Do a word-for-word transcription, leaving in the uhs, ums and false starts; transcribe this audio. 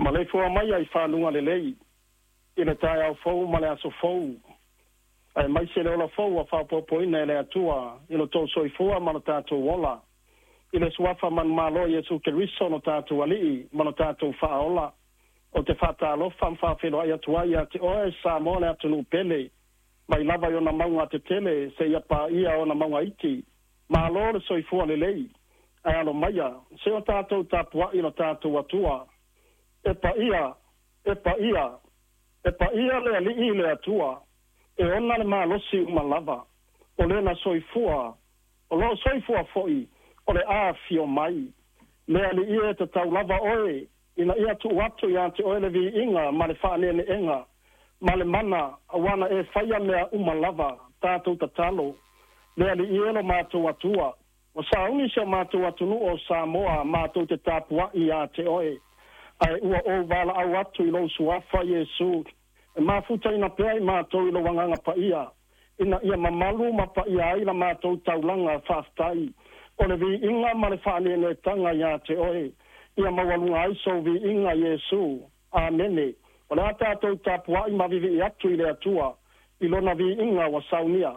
Maleifua mai ai faluga lelei i le taeao fou ma le aso fou aemaise le ola fou ua faaopoopoina e le Atua i lo tou soifua ma lo tatou ola i le suafa manumalo Iesu Keriso lo tatou Alii ma lo tatou Faaola. Ou te faatalofa ma faafeiloai atu ai ia te oe Samoa le atunuu pele, mai lava i ona mauga tetele seia paia ona mauga iti. Malo le soifua lelei, ae alo maia se o tatou tapuai lo tatou Atua. E paia, e paia, e paia le Alii le Atua, e ona le malosi uma lava, o lena soifua, o loo soifua foi, o le afio mai. Le Alii e tatau lava oe, ina ia tuu atu ia te oe le viiga ma le faaneeneega ma le mana, auā na e faia mea uma lava. Tatou tatalo. Le Alii e lo matou Atua, ua sauni si o matou atunuu o Samoa matou te tapuai ia te oe, ae ua ou valaau atu i lou suafa Iesu, e mafutaina pea i matou i lou Agaga Paia, ina ia mamalu ma paia ai la matou taulaga faafetai. O le viiga ma le faaneeneetaga ia te oe, ia maualuga ai sou viiga Iesu. Amene. O le a tatou tapuai ma vivii atu i le Atua i lona viiga ua saunia.